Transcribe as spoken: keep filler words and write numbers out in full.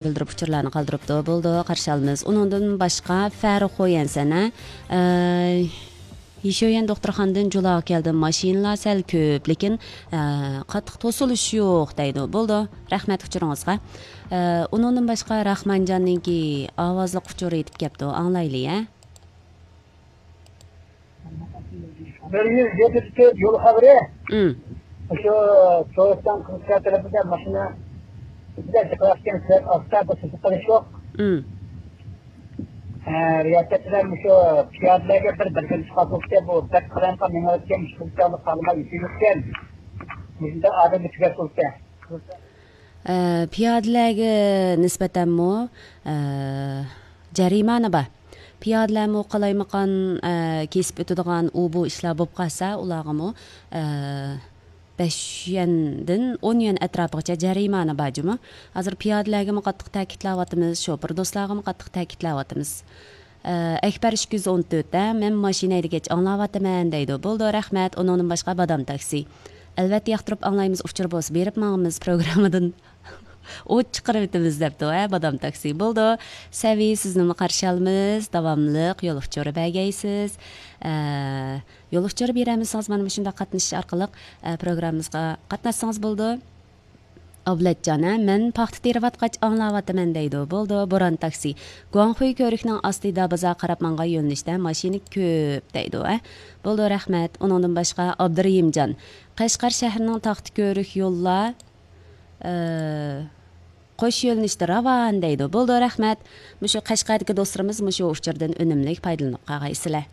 بىلدۈرۈپ ئۇچۇرلارنى قالدۇرۇپتۇ. بولىدۇ، قارشى ئالىمىز. ئۇنىڭدىن باشقا فەرخۇيەن سەنە، ئە، يىشۆيەن دوختۇرخانىدىن جۇلاغا كەلدىم. ماشىنىلار سەل كۆپ، لېكىن، ئە، قاتتىق توسۇلۇش يوق دەيدۇ. بولىدۇ، رەھمەت ئۇچۇرىڭىزغا. ئە، ئۇنىڭدىن باشقا راخمانجاننىڭكى ئاۋازلىق ئۇچۇرى يېتىپ كەپتۇ. ئاڭلايلى، ھە. بىر يۈز يەتمىش تۆت يول خەۋىرى. ئىم. شۇ سوۋېتنىڭ قىزىلسا تەرىپىدە ماشىنا بىلەن چىقىۋاتقان سۈرئەت ئاستا، بىر سىزىق قىلىش يوق. ئىم. ھە، رىياسەت بىلەن مۇشۇ پىيادىلەرگە بىر بەلگىلىمە چىقارتىلىپتۇ. بۇ بەك قالايمىقان مېڭىۋاتقان، مۇشۇ خالىماي يېتىۋاتقان. مۇشۇنداق ئادەمگە تۈگەپ قويۇپتۇ. ئە، پىيادىلەرگە نىسبەتەنمۇ، ئە، جەرىمانە بار. پىيادىلەرمۇ قالايمىقان، ئە، كېسىپ ئۆتىدىغان ئۇ بۇ ئىشلار بولۇپ قالسا، ئۇلارغىمۇ، ئە، بەش يۈەندىن ئون يۈەن ئەتراپىغىچە جەرىمانە بار جۇمۇ. ھازىر پىيادىلەرگىمۇ قاتتىق تەكىتلەۋاتىمىز، شوپۇر دوستلارغىمۇ قاتتىق تەكىتلەۋاتىمىز. ئە، ئەكبەر ئىككى يۈز ئون تۆت، ھە، مەن ماشىنا ھەيدىگەچ ئاڭلاۋاتىمەن دەيدۇ. بولىدۇ، رەھمەت. ئۇنىڭدىن باشقا بادام تاكسى. ئەلۋەتتە ياقتۇرۇپ ئاڭلايمىز، ئۇچۇر بولسا بېرىپ ماڭىمىز پروگراممىدىن. ئوت چىقىرىۋېتىمىز دەپتۇ، ھە، بادام تاكسى. بولىدۇ، سەۋى سىزنىمۇ قارشى ئالىمىز، داۋاملىق يول ئۇچۇرى بەرگەيسىز. ئە، يول ئۇچۇرى بېرەلمىسىڭىز مانا مۇشۇنداق قاتنىشىش ئارقىلىق، ئە، پروگراممىمىزغا قاتناشسىڭىز بولىدۇ. ئابلەتجان، ھە، مەن پاختا تېرىۋاتقاچ ئاڭلاۋاتىمەن دەيدۇ. بولىدۇ، بوران تاكسى. گۇاڭخۇي كۆۋرۈكنىڭ ئاستى دابىزا قاراپ ماڭغان يۆنىلىشتە ماشىنا كۆپ دەيدۇ، ھە. بولىدۇ، رەھمەت. ئۇنىڭدىن باشقا ئابدۇرېھىمجان. قەشقەر شەھىرىنىڭ تاختا كۆۋرۈك يوللار، ئە، قوش يۆنىلىشتە راۋان دەيدۇ. بولىدۇ، رەھمەت. مۇشۇ قەشقەردىكى دوستلىرىمىز مۇشۇ ئۇچۇردىن ئۈنۈملۈك پايدىلىنىپ قالغايسىلەر.